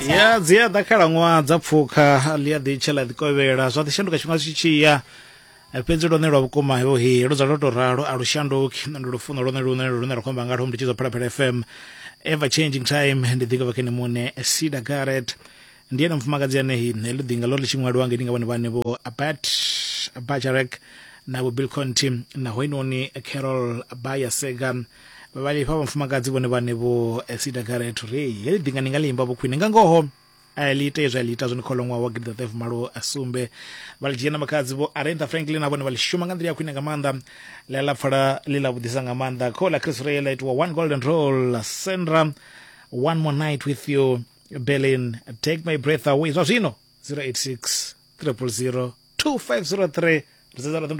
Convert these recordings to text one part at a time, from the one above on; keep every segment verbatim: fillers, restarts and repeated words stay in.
Ya dzi a ḓa khalaṅwaha dza pfukha ḽi a ḓi tsha ḽa ḓi kovhela zwa ḓi shanduka tshifhinga tshi tshi ya fhedzi lwone lwa vhukuma ho he lu dzula lwo tou ralo a lu shanduki ndi lufuno lwone lune lune ra khou amba ngalwo ndi tshi zwa Phalaphala F M ever changing time ndi ḓinga vha kene muṋe Siedah Garrett ndi ene mufumakadzi ane he heḽo ḓinga ḽo ḽi tshi ṅwaliwa ngei nga vhone vhane vho Burt Bacharach na vho Bill Conti na hoinoni Carol Bayer Sager vha lifha vha mufumakadzi vhone vhane vho Siedah Garrett uri heḽi ḓinga ni nga ḽi imba vho khwine nga ngoho a ḽi ite zwa ḽi ita zwone kholoṅwaha wa gidiḓaṱahe malo a sumbe vha ḽi dzhia na makhadzi vho Aretha Franklin na vhone vha ḽi shuma nga nḓila ya khwine nga maanḓa ḽa ḽa pfala ḽi ḽa vhuḓisa nga maanḓa kho ḽa Chris Ray ḽa itiwa One Golden Roll Sandra One More Night With You Berlin Take My Breath Away zwa zwino zero eight six triple zero two five zero three ri sedza ḽa ḓo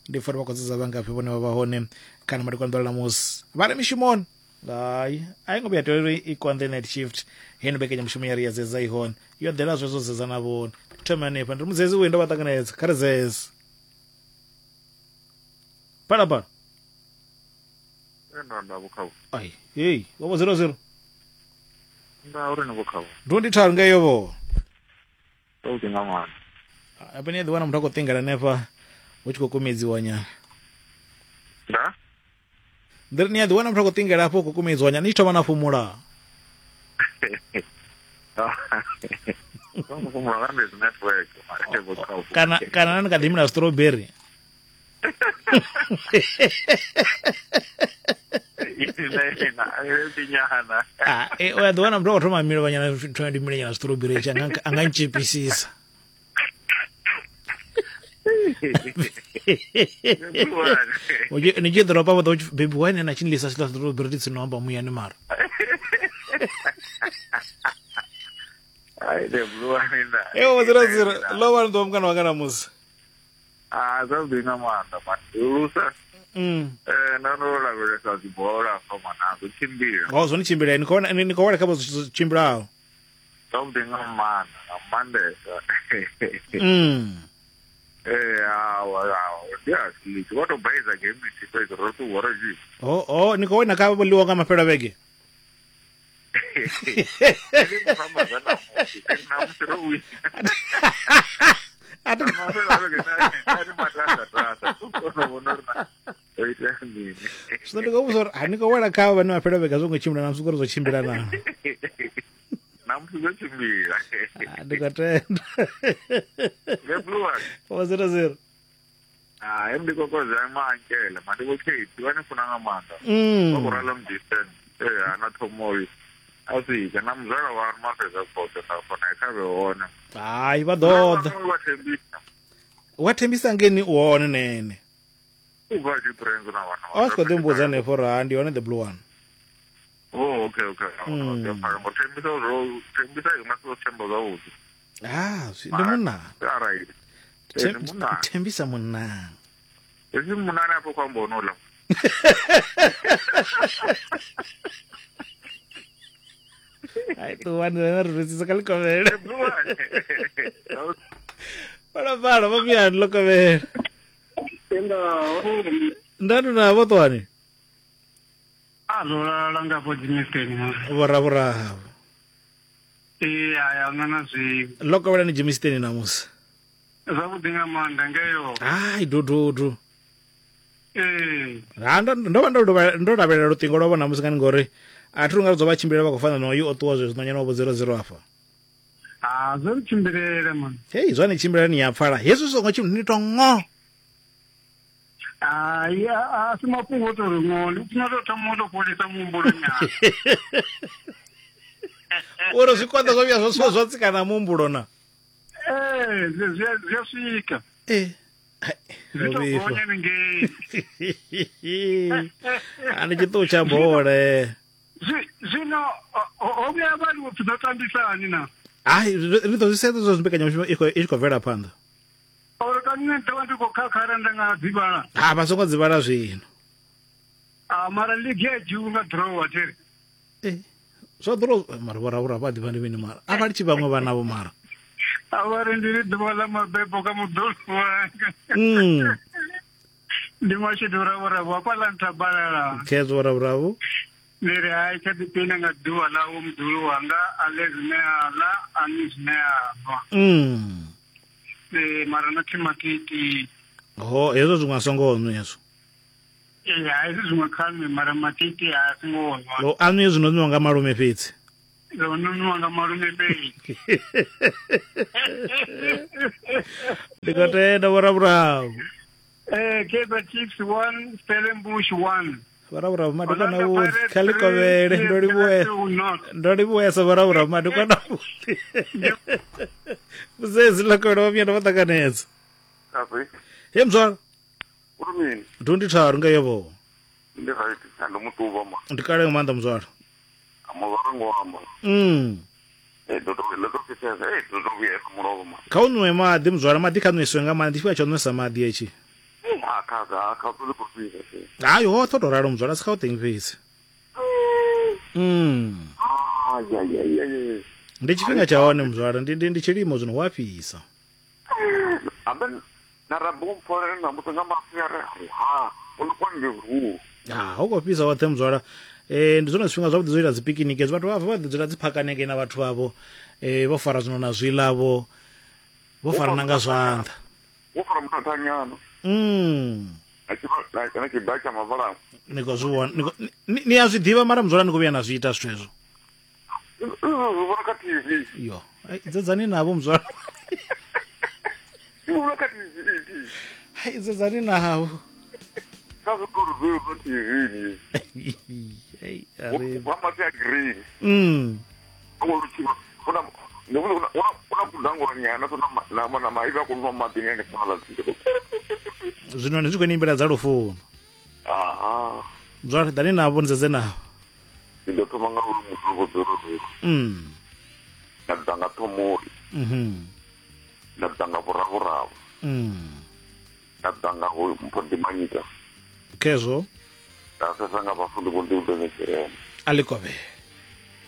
ndi pfha uri vha khou dzedza vhangafhi vhone vha vha hone kana madekwana ḓuvha ḽa ṋamusi vha re mishumoni hai a i ngo vhuya tea uri i konḓe night shift heino mbekanyamushumo ya ri ya dzedza i hone yo ḓela zwezwo dzedza na vhone thoma hanefha ndi mudzedzi uyu ndo vha ṱanganedza kha ri dzedze phalaphala ai hei vho zero zero ngauri ni vhukhavho ndo ndi tharu ngeyo vho to nga mwana hafha ni a ḓi wana muthu a khou ṱingela hanefha hu tshi khou kumedziwa nyana nda ndi ri ni a ḓi wana muthu a khou ṱingela hafho khou kumedziwa nyana ni tshi thoma na fhumula kana kana ni kha ḓi mila strawberry ah eh o ya ḓi wana muthu a khou thoma mila vhanyana thoma ndi mila nyana strawberry tshi anga anga ntshipisisa ni tshi ḓoropa vho ḓo baby wine na tshi lisa sila strawberry tshi no amba muyani mara ai the blue one na ewo zero zero lo vha ndo mukana wanga na musi ah zwa ḓi nga maanḓa man lusa mm eh na no lavhelesa dzi bola fa mana zwo tshimbila ho zwo ni tshimbila ni khou ni khou wela kha zwo tshimbilaho zwa ḓi nga maanḓa nga maanḓesa mm eh awa awa ndi a si vho to baiza game ndi fhedzi ro to wora ji ho ho ni khou wina kha vho ḽiwa nga mafhelo a vhege zwino ndi khou vhudza uri ha ni khou wela kha vhane mafhelo a vhege a zwo ngo tshimbila na musi uri zwo tshimbila na namusi zwo tshimbila ndi khou tenda four zero zero hai ndi kokodza maankele ma ndi vho Kate vha ni funa nga maanḓa vha khou rala mudistance ee ana thomoyo a swika na muzwala wa mafhedza khothe nda fona kha vhe hone hai vha ḓo ḓa wa thembisa wa thembisa ngeni u hone nene u bva tshi prenzo na vhana a tshi khou ḓi mbudza hanefho uri ha ndi hone the blue one Oh, okay, okay. Mm. Okay, thembisa zwo thembisa i nga si themba zwavhuḓi. Ah, ndi munna. All right. Ndi munna. Thembisa munna. Hezwi munna ane afho khou amba ono ḽa. Ai ṱuwani na ri rwedzisa kha ḽikovhela. Phalaphala vho muyani ḽo kovhela. Nda na vho ṱuwani. A zwo lala nga fho Germiston na. Vhoravhuravo. Ee aya na na zwi. Ḽo kovhela ni Germiston namusi. Zwavhuḓi nga maanḓa ngeyo. Hai dududu. Ee. Ha ndo ndo vha ndo ndo lavhelela luṱingo lwa vhona musi ngani ngori a thi nga dzo vha tshimbilela vha khou fana na uyu o ṱuwa zwezwo nyana wa vho zero zero afha. Ah zwo tshimbilela man. Hei zwa ni tshimbilela ni ya pfala. Hezwi zwi songo tshimbila ni to ngo. Ai a si mafhungo to ri ngo ndi funa to thoma to fholisa muhumbulo nyana. Uri zwi konḓa zwo vhuya zwo zwo tsika na muhumbulo na. Eh zwi zwi a swika. Eh. Zwi to gonya ngei. A ndi tshiṱuku tsha bola. Zwino ho vhuya vha ri pfi ḓo tambisani na. Ai ri ḓo zwi sedza zwo mbekanyamushumo i khou i tshi khou bvela phanḓa. Uri kani nṋe ndo vha ndi khou khakhara nda nga dzivhala. Ha vha songo dzivhala zwino. Ah mara league ya dzhiwa nga draw there. Eh zwa draw mara vhoravhura vha ḓivha ndi mini mara a vha litshi vhaṅwe vhana vho mara. A vha ri ndi ḓuvha ḽa mabebo kha muḓulu wanga. Mm. Ndi mashudu ravhuravhu hafhaḽa nthabalala. Khezwo vhoravhuravhu. Ndi ri hai tsha ḓiphina nga ḓuvha ḽawe muḓulu wanga a ḽe zwine a ḽa a nwe zwine a nwa. Mm. Ee, mara na thimatiti. Ho hezwo zwiṅwe a songo nwa hezwo. Ee, hai hezwi zwiṅwe kha nwe mara matiti a songo nwa. Lo a nwe zwino nwiwa nga malume fhedzi. Lo nwiwa nga malume fhedzi. Ndi khou tenda Vho Raburabu. Eh, Kaizer Chiefs one, Stellenbosch one. Vho Raburabu madekwana avhuḓi kha ḽi kovhele ndo livhuwe ndo livhuwesa Vho Raburabu madekwana avhuḓi. Muzezi ḽa kovhela vha vhuya ndo vha ṱanganedza. He mzwala. Uri mini? Ndi tharu nga yevho. Ndi right, ndo mutuvha ma. Ndi kale nga maanḓa mzwala. Amuvha ngo amba. Mm. Eh do do le do fisa eh do do vhuya mulovha ma. Kha u nwe maḓi mzwala maḓi kha nweswe nga maanḓa tshifhinga tsha u nwesa maḓi etshi. Ha kha ga kha u ḓo fisa. Hayi ho tho to ralo mzwala sikha u teng fhedzi. Mm. Ah ya ya ya ya. Ndi tshifhinga tsha hone mzwala ndi ndi tshilimo zwino wa fhisa. Aben na rabu mpfore na muthu nga mafia ha u kwa ndi ru. Ha ho go fhisa woṱhe mzwala. Eh ndi zwone zwifhinga zwavhuḓi zwo ita dzi picnic vhathu vha vha ḓi dzula dzi phakaneke na vhathu vhavho eh vho fara zwino na zwiḽa vho vho farana nga zwanḓa. Wo fara muthathanyana. Mm. A tshi vha na tshi bacha mavala. Ni khou zwi vhona ni a zwi ḓivha mara mzwala ni khou vhuya na zwi ita zwithu hezwo. Vhona kha T V. Yo, dzedzani navho mzwala. Vhona kha T V. Hai dzedzani navho. Kha zwi khou zwi T V. Hey, ari. Wa mafia green. Mm. Wo tshi vhona ndi vhona una kudangura nyana to na na na maiva ku nwa maḓi ngene fhala. Zwino ndi zwi khou nimbela dza lufuno. Aha. Mzwala dani navho ndzedze navho. Ndi ḓo thoma nga uri muthu vho ḓo ri. Mm. Nda ḓa nga thomoli. Mhm. Nda ḓa nga vhuravhuravu. Mm. Nda ḓa nga ho mpodimanyika. Kezwo. Nda sesa nga vhafundi vho ndi u ḓo Alikove.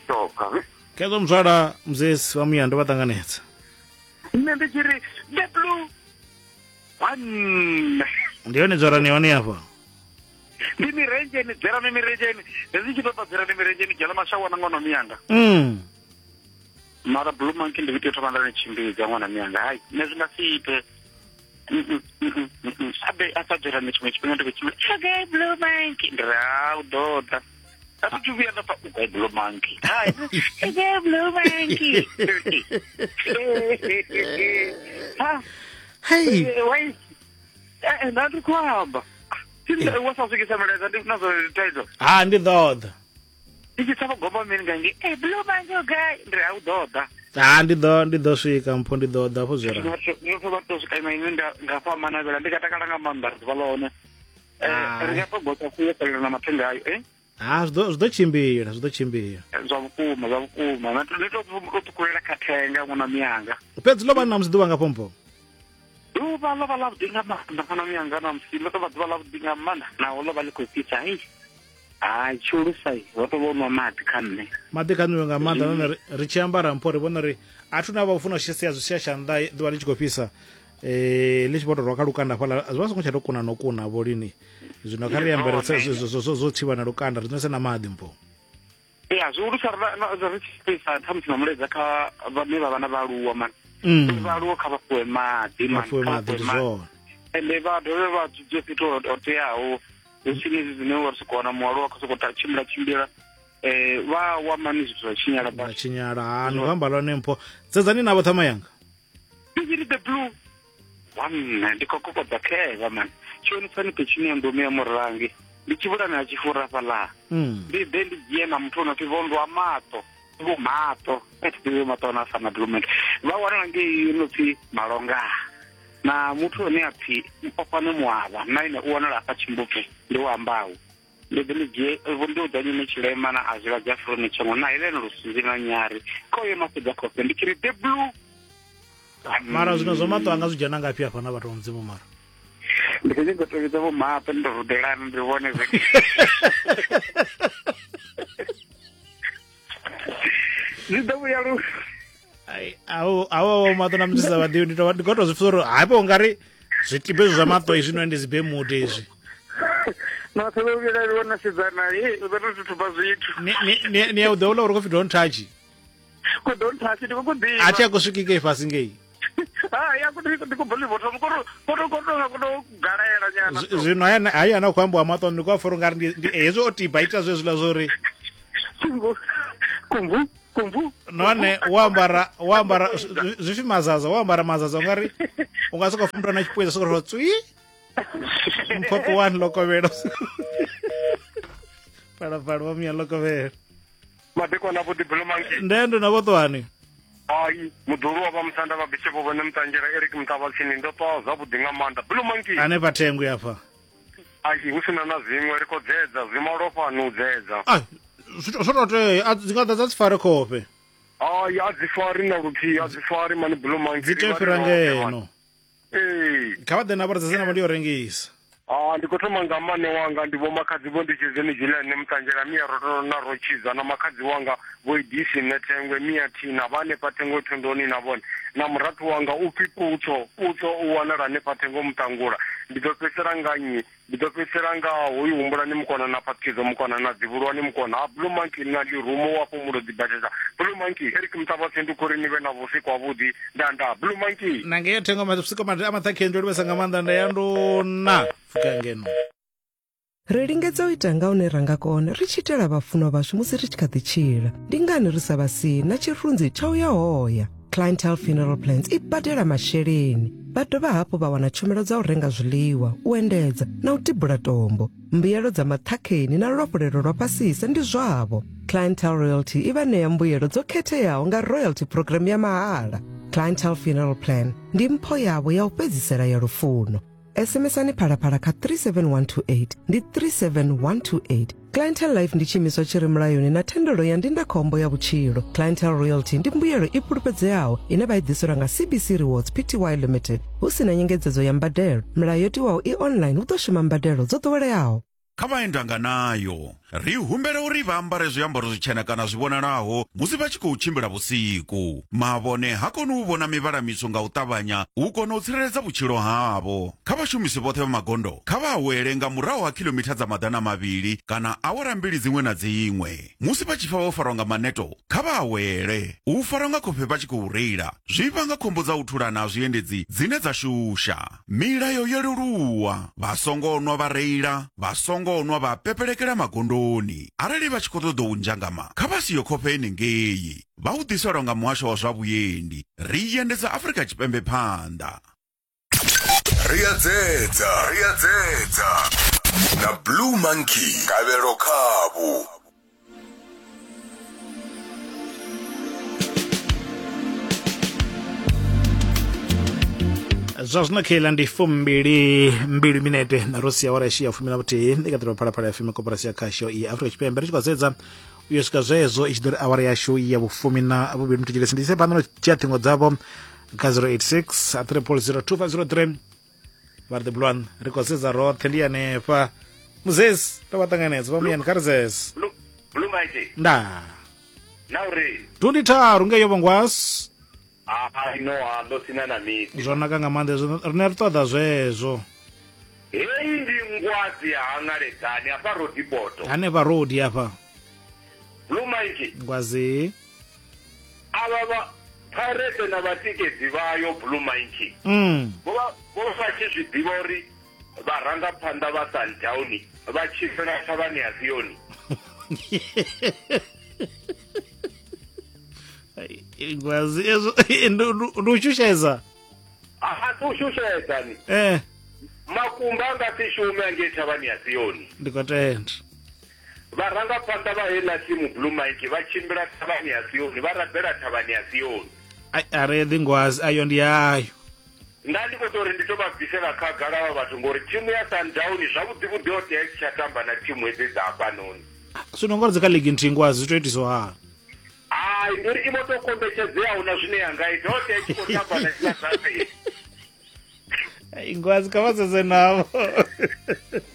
To kavi. Kezwo mzwala mzesi wa muya ndo vha ṱanganedza. Nṋe ndi tshi ri the blue one. Ndi yone dzwarani hone hafha. Ndi mirenzheni dzerani mirenzheni hezwi tshi ṱoḓa dzerani mirenzheni dzhela mashawana ṅwana miyanga. Mm. Mara blue monkey ndi tea u thoma nda ni tshimbidza ṅwana miyanga. Hai nṋe zwi nga si ite. Abe a sa dzerani tshiṅwe tshifhinga ndi khou tshimbila. Okay blue monkey ndi ra u ḓo ḓa. A thi thu vhuya nda pfa u blue monkey. Hai okay blue monkey. Ha. Hey. Wait. Eh nda ndi khou amba. Wa sa swikisa mulaedza ndi na zwo thaidzo. Ha ndi ḓo ḓa. Ndi tshi tsha gomba mini nga ngi eh blue monkey okay ndi a u ḓo ḓa. Ha ndi ḓo ndi ḓo swika mpho ndi ḓo ḓa afho zwi ra. Ndi vha to swika ima ine nda nga fha manavhela ndi ka takala nga maanḓa ḓuvha ḽone. Eh ri nga to gota kuye fhelela na mathenga ayo eh. Ha zwi ḓo zwi ḓo tshimbila zwi ḓo tshimbila. Zwa vhukuma zwa vhukuma na ndi to ṱukulela kha thenga ṅwana miyanga. Fhedzi ḽo vha na musi ḓuvha nga fhombo. Ḓuvha ḽo vha ḽavhuḓi nga maanḓa ṅwana miyanga na musi ḽo tou vha ḓuvha ḽavhuḓi nga maanḓa naho ḽo vha ḽi khou fhisa hei. Hai tshiulusa ho tou vha u nwa maḓi kha nṋe. Maḓi kha nwiwe nga maanḓa nahone ri tshi ambara mpho ri vhona uri a thu na vha u funa u sia zwi sia tshanḓa ḓuvha ḽi tshi khou fhisa eh ḽi tshi vho tou rwa kha lukanda hafhaḽa zwi vha songo tsha tou kuna no kuna vho lini. Zwino kha ri ambare zwo thivha na lukanda ri nwese na maḓi mpho. Ya zwi ulusa ri tshi fhisa ṱhamusi na mulaedza kha vhane vha vha na vhaaluwa mani. Vhaaluwa kha vha fuwe maḓi mani fuwe maḓi ndi zwone. Ende vha dovhe vha dzudzwe fhethu ho teaho hu si hezwi zwine wa sokou wana mualuwa khou sokou tshimbila tshimbila eh vha wa mani zwithu zwa tshinyala vha tshinyala. Ha no amba lone mpho dzedzani navho ṱhama yanga. Ndi the blue one ndi khou kokodza khevha mani tshonisani petshini ya ndomi ya murangi ndi tshivhulani ha tshifura fhaḽa. Ndi ḓe ndi dzhie na muthu ono pfi vhondwa maṱo vho maṱo ḓivhe maṱo na fana blue monkey vha wanala ngei no pfi Malonga na muthu ane a pfi Mpofane Muavha na ine u wanala afha Tshimbupfe ndi u ambaho. Ndi ḓe ndi dzhie vho ndi u ḓa nyine tshilema na azwila dza froni tshango na Helene Lusunzi na Nyari kho ye mafhedza khofhe ndi tshi ri the blue. Mara zwino zwa maṱo anga zwi dzhena ngafhi afha na vhathu vha Mudzimu mara. Ndi khou nyanga u tovhedza vho maṱo ndi rudelana ndi vhone zwe. Zwi ḓo vhuya lu. Ai awo awo maṱo na muthu sa vhaḓivhi ndi to ndi khou tou zwi pfha uri hafho ungari zwitibe zwa maṱo izwi no ndi zibemude izwi. Na tsho vhela ri vhona sidzana he u ḓo to thuba zwithu. Ni ni ni ya u ḓo ula uri ko pfi don't touch. Ko don't touch ndi ko ḓivha. A tshi a ku swiki ngei fhasi ngei. Ah ya ku ndi ku boli bottom ko ko ko ko ko galela nyana. Zwino haya haya na khou ambiwa maṱo ndi kwa furu ngari ndi hezwo o tiba ita zwezwiḽa zwori. Kumbu kumbu. None wa ambara wa ambara zwi pfi mazaza wa ambara mazaza ungari unga soko muthu na tshipweza soko ro tswi. Mphoko one lokovhela. Pala pala wa mia lokovhela. Madekwana vho Diplomaki. Ndendo na vhoṱwani. Ai mudulu wa vhamusanda vha bishopo vhone Mutanzhela Eric Mutavhatsini ndo ṱwa zwavhuḓi nga maanḓa. Diplomaki. Hanefha thengo ya fha. Ai hu sina na zwiṅwe ri khou dzedza zwi malofhani u dzedza. Ai zwo to tea a dzi nga ḓa dza dzi fare khofhe. Ai a dzi fari na luthihi a dzi fari mani Diplomaki. Dzi tea fhira ngeno. Ee. Kha vha ḓe na vho dzedza navho ndi yo rengisa. Ah ndi khou thoma nga mane wanga ndi vho makhadzi vho ndi tshizeni Julian Mutanzhela mia ro na ro tshidza na makhadzi wanga vho Idisi Nethengwe mia thina vha hanefha Thengo Thondoni na vhone na murathu wanga u pfi Putso Putso u wanala hanefha Thengo Mutangula. Ndi ḓo fhedzisela nga nnyi? Ndi ḓo fhedzisela nga hoyu Humbulani Mukona na Phathidzo Mukona na Dzivhuluwani Mukona ha Blue Monkey na Lirumo wa Fhumulo Dzibadela. Blue Monkey Eric Mutavhatsindi ndi khou ri ni vhe na vhusiku havhuḓi nda nda Blue Monkey. Na ngeo Thengo masiku a maṱhakheni ndo livhesa nga maanḓa nda ya nduna. Ngeno. Ri lingedza u ita nga hune ra nga kona ri tshi itela vhafunwa vhashu musi ri tshi kha ḓi tshila. Ndi ngani ri sa vha sii na tshirunzi tsha u ya hoya? Clientele Funeral Plans i badela masheleni. Vha dovha hafhu vha wana tshumelo dza u renga zwiḽiwa, u endedza na u tibula tombo. Mbuyelo dza maṱhakheni na luafhulelo lwa fhasisa ndi zwavho. Clientele Royalty i vha ṋea mbuyelo dzo khetheaho nga royalty program ya mahala. Clientele Funeral Plan ndi mpho yavho ya u fhedzisela ya lufuno. S M S ani Phalaphala kha three seven one two eight ndi three seven one two eight. Clientele Life ndi tshiimiswa tshi re mulayoni na thendelo ya ndindakhombo ya vhutshilo. Clientele Royalty ndi mbuyelo i fhulufhedzeaho ine vha i ḓiselwa nga C B C Rewards P T Y Limited hu si na nyengedzedzo ya mbadelo. Milayo yo tiwaho i online hu ḓo shuma mbadelo dzo ḓoweleaho. Kha vhaendanga nayo ri humbela uri vha ambare zwiambaro zwitshena kana zwi vhonalaho musi vha tshi khou tshimbila vhusiku. Mavhone ha koni u vhona mivhala mitswu nga u ṱavhanya u kona u tsireledza vhutshilo havho. Kha vhashumisi vhoṱhe vha magondo kha vha awele nga murahu ha khilomitha dza maḓana mavhili kana awara mbili dziṅwe na dziṅwe. Musi vha tshi pfa vho farwa nga maneto kha vha awele. U farwa nga khofhe vha tshi khou reila zwi vhanga khombo dza u thulana ha zwiendedzi dzine dza shusha. Milayo yo leluwa, vha songo nwa vha reila, vha songo nwa vha pepelekela magondoni. Arali vha tshi khou ṱoḓa u nzhangama kha vha siyo khofhe henengei. Vha u ḓiselwa nga muhasho wa zwa vhuendi. Ri endedza Afrika Tshipembe phanḓa. Ri a dzedza, ri a dzedza na Blue Monkey Kabelo Khavhu. Zwa zwino kheila ndi fumbili mbili minete na ro sia awara ya fumi na vhuthihi ndi kha ḓirwa Phalaphala ya F M koporasi ya khasho ya Afrika Tshipembe. Ri tshi khou sedza u yo swika zwezwo i tshi ḓo ri awara yashu ya vhufumi na vhuvhili. Muthu tshilesi ndi ise phanḓa no dzhia ṱhingo dzavho kha zero eight six triple zero two five zero three. Vha ri the blue one ri khou sedza roṱhe ndi hanefha. Muzesi ndo vha ṱanganedza vha muyani kha ri zese. Blue Monkey. Nda. Na uri twenty tharu ngeyo vhongwasi. Ai no a ndo sina na miti. Zwo naka nga maanḓa hezwo rine ri ṱoḓa zwezwo. Heyi ndi ngwazi ya hangaledzani afha rodipoto. Hanefha rodi afha. Blue Monkey. Ngwazi. Avha vha Pirate na vhatikedzi vhayo Blue Monkey. Mm. Vho vha vho vha tshi zwi ḓivha uri vharangaphanḓa vha Sundown vha tshimbila thavhani ya Sioni. Ngwazi ezwo ndi u shushedza. A si u shushedza ni. Eh. Makumba a nga si shume ngei thavhani ya Sioni. Ndi khou tenda. Vharangaphanḓa vha heiḽa thimu Blue Monkey vha tshimbila thavhani ya Sioni, vha rabela thavhani ya Sioni. Ai a re ḓi ngwazi ayo ndi ayo. Nda ndi khou tou ri ndi to vha bvisela khagala vha vhathu ngori thimu ya Sundown zwavhuḓi vhuḓi yo tea i tshi tsha tamba na thimu hedzi dza hafhanoni. Zwino ngori dzi kha ligi nthihi ngwazi zwi tou itiswa hani? Ai ndi uri i vho tou kombetshedzea huna zwine ya nga ita ho tea i tshi khou tamba na dziḽa dza fheli. Ai ngwazi kha vha sedze navho.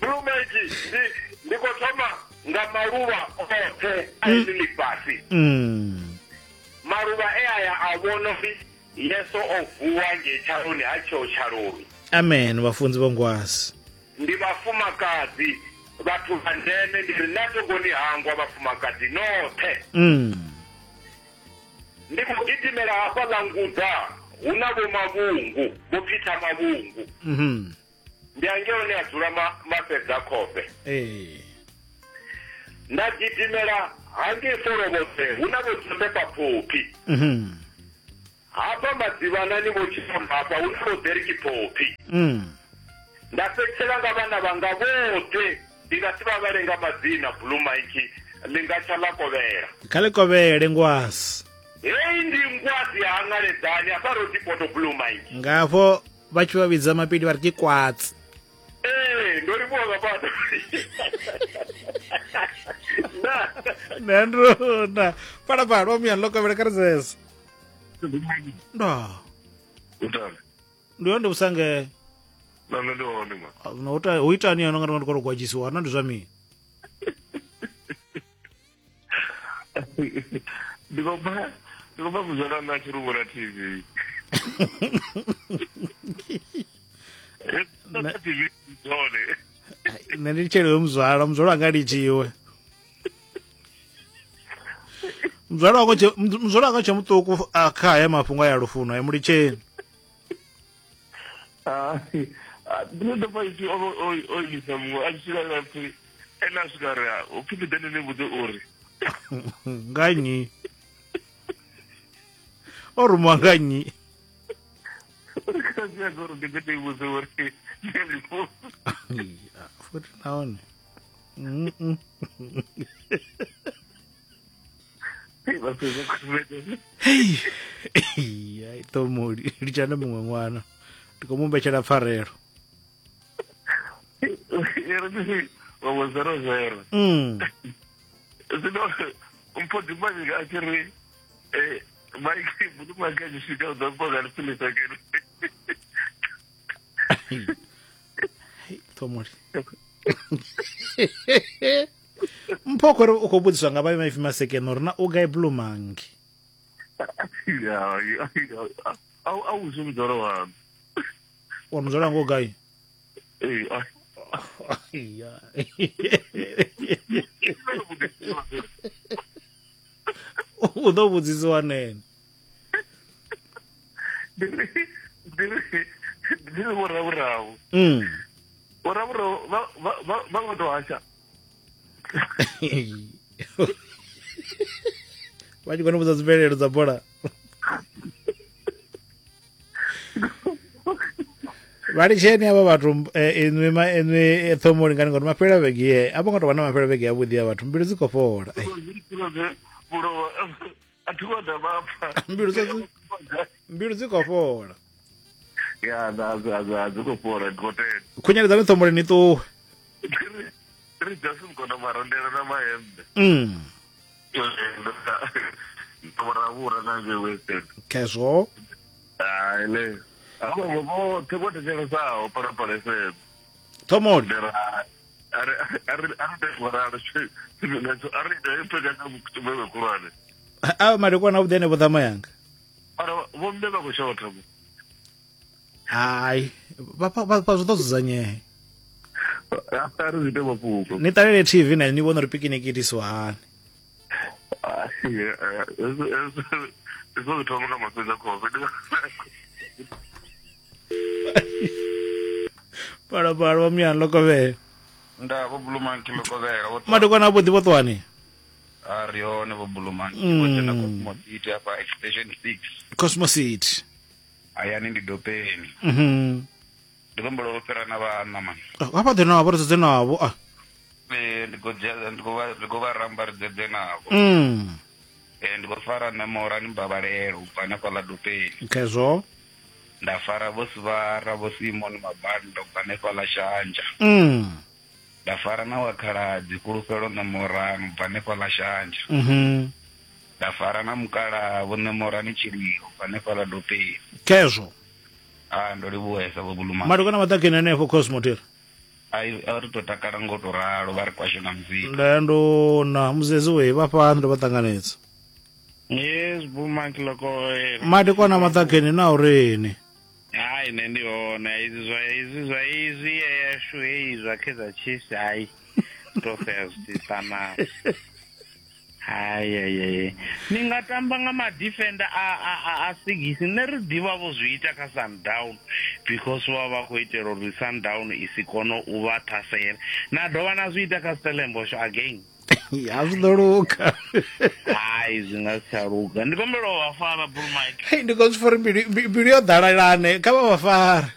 Blue Monkey ndi ndi khou thoma nga maluvha oṱhe a heḽi ḽifhasi. Mm. Maluvha e aya a vhona uri Yesu o vuwa ngei tshaloni ha tsheo tshaloni. Amen vhafunzi vho ngwazi. Ndi vhafumakadzi Vhathu vha ndeme ndi ri na thongoni hangwa vhafumakadzi noṱhe. Mm. Ndi khou gidimela hafha ḽa Ngudza hu na vho Mavhungu, vho Peter Mavhungu. Mhm. Ndi angei hone a dzula Mafhedza Khofhe. Eh. Nda gidimela hangei Folovhodze hu na vho Josefa Phophi. Mhm. Hafha Madzivhanani vho Tshifamba hafha hu na vho Derek Phophi. Mm. Nda fhedzisela nga vhana vhanga vhoṱhe ndi nga si vha vhale nga madzina Blue Monkey ḽi nga tsha ḽa kovhela. Kha ḽi kovhele ngwasi. Heyi ndi ngwasi ya hangaledzani hafha Rodipoto Blue Monkey. Ngafho vha tshi vha vhidza mapidi vha ri ke kwatsi. Ee, ndo livhuwa nga maanḓa. Nṋe nduna phalaphala wa muyani ḽo kovhela kha ri zese. Nda. Ndi hone vhusange. Na nṋe ndi hone ma. No uta hu itani yana nga ndi khou gwadzhisiwa na ndi zwa mini? Ndi khou bva ndi khou bva kuzwala na tshi vhona T V. Na T V dzone. Nṋe ndi tshele muzwala, muzwala anga litshiwe. Muzwala wako tshe muzwala wanga tshe muṱuku kha haya mafhungo ya lufuno ya mulitsheni. Ah, ndi ḓo pfa itshi o o isa muṅwe a tshi swika nga pfi ene a swika ri u pfi ndi ḓe ndi ni vhudze uri nga nnyi o rumiwa nga nnyi uri kha uri ndi ḓe ndi vhudze uri futhi nahone hei ai ṱomoli litshana muṅwe ṅwana ndi khou mumbetshela pfarelo. Wa zero zero. Mm. Zwino mpho dimanyika a tshi ri eh Mike Blue Monkey a tshi swika u ḓo mpho nga lifhilisa kene. Ṱomoli. Mpho khori u khou vhudziswa nga vha maipfi masekene uri na u gai Blue Monkey. Ya a a u zwi muzwala waṋu. Wa muzwala wanga u gai? Ee. Ya. U ḓo vhudzisiwa nene. Ndi ndi ndi vhoravhuravu. Mm. Vhoravhuravu vha vha vha vha to hasha. Vha tshi kona u vhudza dzimvelelo dza bola. Vha litsheni avha vhathu inwi ma inwi ṱhomoli ngani ngori mafhelo a vhege ye a vho ngo tou vha na mafhelo a vhege avhuḓi a vhathu mbilu dzi khou fhola. Mbilu dzi mbilu dzi khou fhola. Ya na dzi dzi khou fhola ndi khou tenda. Khunyeledzani ṱhomoli ni ṱuwe. Ri just kona marondela na mahembe. Mm. Vhoravhura na ngei Western. Khezwo. Hai le. Avho vhoṱhe vho thetshelesa Phalaphala F M. Ṱhomoli. A ri a ri a ri vhoralo a ri ipfeka nga tshumelo khulwane. A madekwana avhuḓi henefho ṱhama yanga. Ara vho mme vha khou shotha. Hai, vha vha vha zwi ḓo dzudzanyea. A ri zwi ite mafhungo. Ni ṱalele T V na ni vhone uri pikiniki itisiwa hani. Hezwo zwi thoma nga mafhedza khofhe. Phalaphala wa muyani ḽo kovhela. Nda vho Blue Monkey ḽo kovhela. Madekwana avhuḓi vho ṱuwani? A ri hone vho Blue Monkey. Vho dzhena Cosmo City hafha Extension six. Cosmo City. Hayani ndi Dopeni. Mhm. Ndi khou humbela u fhira na vhana mani. Hafha ḓe navho ri dzedze navho a. Ee ndi khou dzhia ndi khou vha ndi khou vha ramba ri dzedze navho. Mm. Ee ndi khou fara na Morani Mbabalelo u bva hanefha ḽa Dopeni. Khezwo. Nda fara vho Sivara vho Simon Mabanda u bva hanefha ḽa Shanja. Mm. Nda fara na wa khaladzi Fhulufhelo na Morani u bva hanefha ḽa Shanja. Mhm. Nda fara na mukala vho Nemorani Tshililo u bva hanefha ḽa Dopeni. Khezwo. Ah ndo livhuwesa vho Blue Monkey. Madekwana maḓakeni henefho Cosmo Tiri. Ai a ri to takala ngo to ralo vha ri kwashe na muzika. Nda ndo na muzezi we vha fhano ndo vha ṱanganedza. Yes, Blue Monkey ḽo kovhela. Madekwana maḓakeni na urini? Hai nṋe ndi hone izwi zwa izwi zwa izwi yashu heyi zwa Kaizer Chiefs hai. to sea zwi tshi ṱanana. Hai hai hai. Ni nga tamba nga ma defender a a a, a sigisi nṋe ri ḓivha vho zwi ita kha Sundown because vha vha khou itela uri Sundown i si kone u vha ṱhasela. Na dovha na zwi ita kha Stellenbosch again. Ya zwi ḓo luga. Hai zwi nga si tsha luga. Ndi kombela u vha fara Blue Mike. Hei ndi khou zwi pfa uri mbilu mbilu yo ḓalalane kha vha vha fare.